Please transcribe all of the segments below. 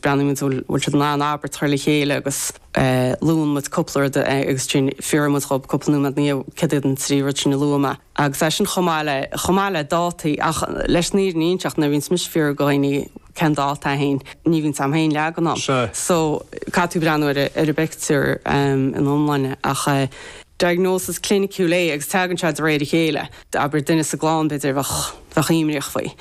breathnaíonn muid bhfuil bhfuil siad in ann abairt a chur le chéile agus luann muid cúpla rud agus ansin fiafraíonn muid dhób cúpla nóiméad ina dhiaidh céard iad an 3 rud sin a luaigh mé. Agus é sin chomh maith le chomh maith le dátaí ach leis an fhírinne a inseacht nuair a bhíonns mise ag fiafraí de dhaoine cén dáta é féin ní bhíonns a'm féin leagan ann. So caithfidh tú breathnú ar ar an bpictiúr ina iomláine ach diagnosis cliniciúil é agus tagann sé de réir a chéile. Abair duine sa gclann b'fhéidir a bheadh bheadh imníoch faoi.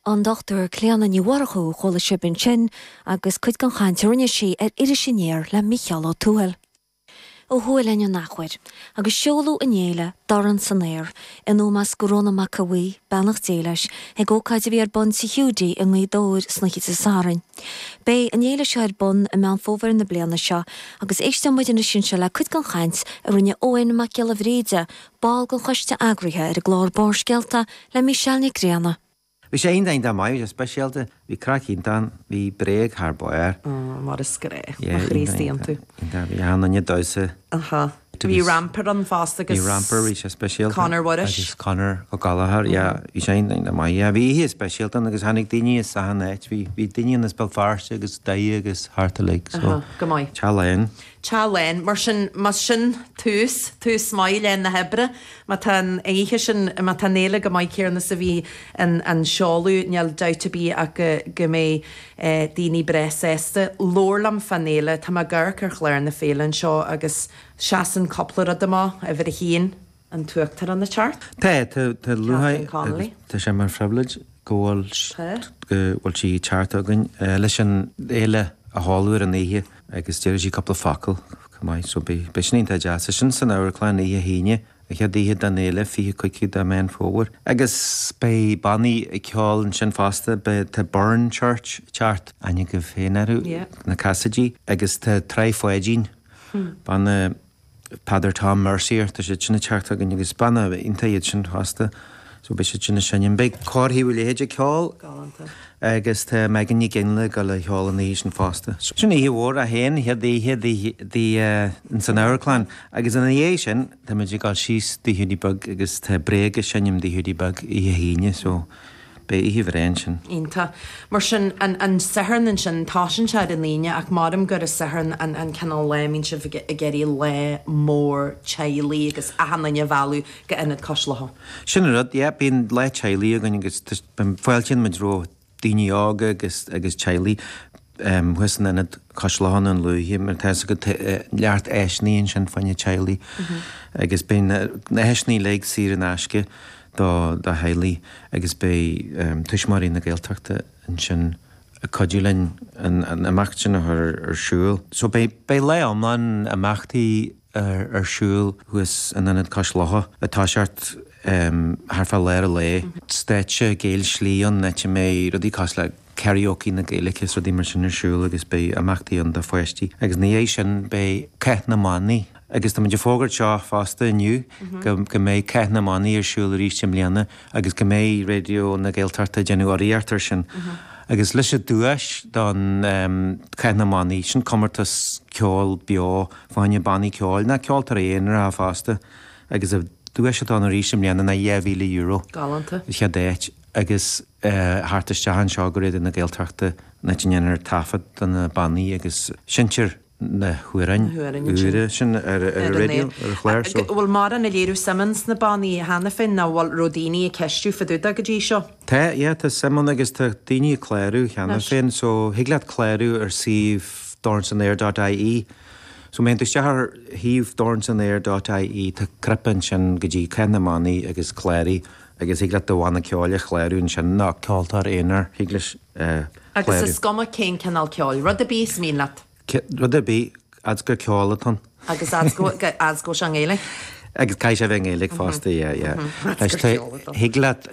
An Dr Clíona Ní Mhurchú a chuala sibh ansin agus cuid den chaint a rinne sí ar Iris Aniar le Mícheál Ó Tuathail. Ó thuaidh linn an athuair, agus seoladh an fhéile Dorn san Aer in ómós do Rónán Mac Aodha Bhuí, beannacht Dé leis, ag ócáid a bhí ar bun Tigh Hiúdaí i nGaoth Dobhair san oíche Dé Sathairn. Beidh an fhéile seo ar bun i Meán Fómhair na bliana seo agus éisteoidh muid anois anseo le cuid den chaint a rinne Eoin Mac Giolla Bhríde, ball den choiste eagraithe ar an gclár Barrscéalta le Michelle Nic Grianna. Bhí sé iontach iontach maith, bhí sé speisialta, bhí craic iontach ann, bhí Bréag thar barr. Ó, mar is gnách, mo Chríostaí iontu. Iontach, bhí achan duine ag damhsa. Aha. Bhí Ramper ann fosta agus. Bhí Ramper, bhí sé speisialta. Conor Mhuiris. Agus Conor Ó Gallchóir, yeah, bhí sé iontach iontach maith, yeah. Bhí oíche speisialta ann agus tháinig daoine as achan áit, bhí, bhí daoine ann as Béal Feirste agus Doire agus thart uilig, so. Aha, go maith. Teach lán. Teach lán. Mar sin, más sin tús, tús maith le na hoibre, má tá an oíche sin, má tá an fhéile chomh maith céanna is a bhí an an seoladh, níl dabht ar bith ach go go mbeidh daoine breá sásta. Labhair liom fán fhéile, tá mé ag amharc ar chlár na féile anseo agus seasann cúpla rud amach, uimhir a haon, an tUachtarán ag teacht. Tá, tá, tá lúcháir agus tá sé mar phribhléid go bhfuil, go bhfuil sí ag teacht chugainn leis an fhéile a sheoladh ar an oíche agus déarfaidh sí cúpla focal chomh maith so beidh, beidh sin iontach deas. Tá sin san amharclann oíche hAoine, an chéad oíche den fhéile, 25ú de Mheán Fómhair. Agus beidh bannaí ag ceol ansin fosta, beidh, tá Burren Church ag teacht, aithne agaibh féin orthu, na Cassidy, agus tá Tráigh Pháidín, banna, Peadar Tom Mercier, tá siad sin ag teacht chugainn agus banna iontach iad sin fosta so beidh siad sin ag seinm. Beidh Cór Thaobh an Leithéid ag ceol agus tá Megan Nic Fhionnghaile ag dul a cheol an oíche sin fosta. Sin oíche mhór í féin, an chéad oíche di ins an amharclann agus ina dhiaidh sin tá muid ag dul síos Tigh Hiúdaí Beag agus tá Bréag ag seinm Tigh Hiúdaí Beag oíche hAoine so Beidh oíche bhreá ansin. Iontach. Mar sin, an an Satharn ansin, tosaíonn sé ar an Aoine ach maram gur an Satharn an an cineál lá a mbíonn sibh ag ag iarraidh lá mór teaghlaigh agus achan duine a mhealladh go Ionad Cois Locha. Sin an rud, yeah, bíonn lá teaghlaigh againn agus fáiltíonn muid roimh daoine óga agus agus teaghlaigh. thuas in Ionad Cois Locha i nDún Lúiche mar tá fhios agat tá neart áiseanna ansin fá choinne teaghlaigh agus beidh na háiseanna uilig saor in aisce do do theaghlaigh agus beidh Tuismitheoirí na Gaeltachta ansin ag cuidiú linn an an imeacht sin a chur ar siúl. So beidh beidh lá iomlán imeachtaí ar siúl thuas in Ionad Cois Locha ag toiseacht thart fá lár an lae. Stáitse Gaelslí ann áit a mbeidh rudaí cosúil le karaoke na Gaeilge is rudaí mar sin ar siúl agus beidh imeachtaí ann do pháistí. Agus ina dhiaidh sin beidh Cath na mBannaí. Agus tá muid ag fógairt seo fosta inniu go go mbeidh Cath na mBannaí ar siúl arís i mbliana agus go mbeidh Raidió na Gaeltachta ag déanamh urraíocht air sin. Agus leis an duais don Cath na mBannaí, sin comórtas ceoil beo fá choinne bannaí ceoil, ná ceoltóirí aonaracha fosta, agus an duais atá ann arís i mbliana ná €2,000. Galánta. An chéad áit agus theacht isteach anseo go Raidió na Gaeltachta an áit a ndéanfar taifead de na bannaí agus seinntear na hamhráin úra sin ar an raidió, ar an chlár so. Bhfuil mórán ag léiriú suim ins na bannaí cheana féin nó bhfuil raibh daoine ag ceistiú fá dtaobh de go dtí seo? Tá, yeah, tá suim ann agus tá daoine ag clárú cheana féin so thig leat clárú ar suíomh dornsanaer dot ie. So má théann tú isteach ar shuíomh dornsanaer dot ie tá cnaipe ansin go dtí Cath na mBannaí agus cláraigh agus thig leat do bhanna ceoil a chlárú ansin nó ceoltóir aonair thig leis clárú. Agus is cuma cén cineál ceoil, rud ar bith is mian leat. Rud ar bith, fhad 's gur ceol atá ann. Agus fhad 's go fhad 's go bhfuil sé i nGaeilge. Agus caithfidh sé a bheith i nGaeilge fosta, yeah, yeah. Thig leat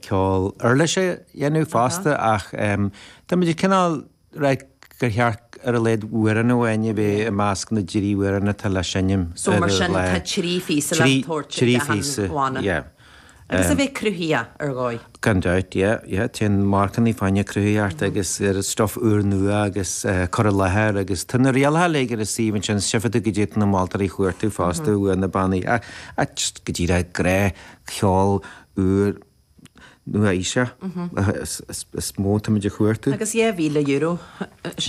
ceol uirlise a dhéanamh fosta ach tá muid ag cineál rá gur cheart ar a laghad amhrán amháin a bheith i measc na dtrí amhrán atá le seinm So mar sin tá trí phíosa le tabhairt ag achan bhanna. Yeah. Agus a bheith cruthaitheach ar dhóigh. Gan dabht, yeah, yeah. Téann marcanna fá choinne cruthaitheacht agus ar stuff úrnua agus cur i láthair agus tá na rialacha uilig ar an suíomh ansin, tchífidh tú goidé tá na moltóirí a chuartú fosta uaidh na bannaí ach just go díreach gnáthcheol úr nua-aoiseach is mó táimid a chuartú. Agus €2,000.